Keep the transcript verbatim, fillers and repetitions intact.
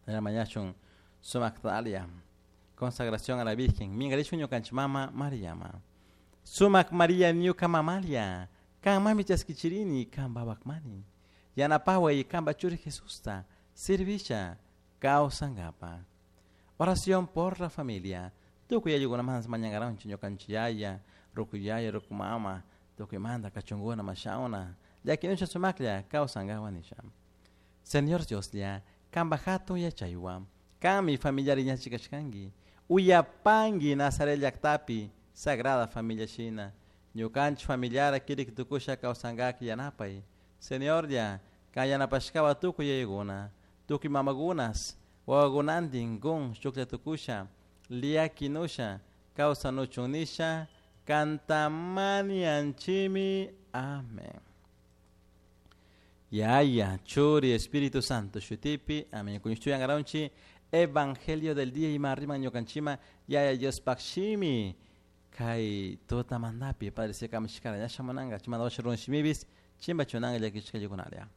Mañashun sumak talia consagración a la Virgen mingarishun ñukanchik mama Mariama. Sumak Maria ñuka mamalia kan mami chaskichirini kan babakmani yanapaway kanpa churi Jesusta servisha kawsankapa. Oración por la familia. Tukuy ayukunaman mañankaranchik ñukanchik yaya, ruku yaya, ruku mama, tukuymanta kachunkuna mashawna llakinusha sumaklla kawsankawan nisha. Señor Dioslla, kanpa hatun yachaywan, kanmi familiar iñachi kashkanki, uyapanki Nazaret llaktapi Sagrada Familia shina, ñukanchik familiara kirik tukusha kawsankak yanapay. Señorlla, kan yanapashkawa tukuy yayakuna, tukuy mamakunas, wawakunantin kun shuklla tukusha, liakinusha, kawsanuchun nisha, kantamanianchimi. Amén. Yaya, Churi, Espíritu Santo, shutipi, amén. Kuñushtuyan Evangelio del día ima riman ñukanchima, Yaya Dios pakshimi, kay tutamandapi, Padre se kamishkara, ñasha munanga, chimanda washa run shimibis, chimba chunanga llakishka yukunalia.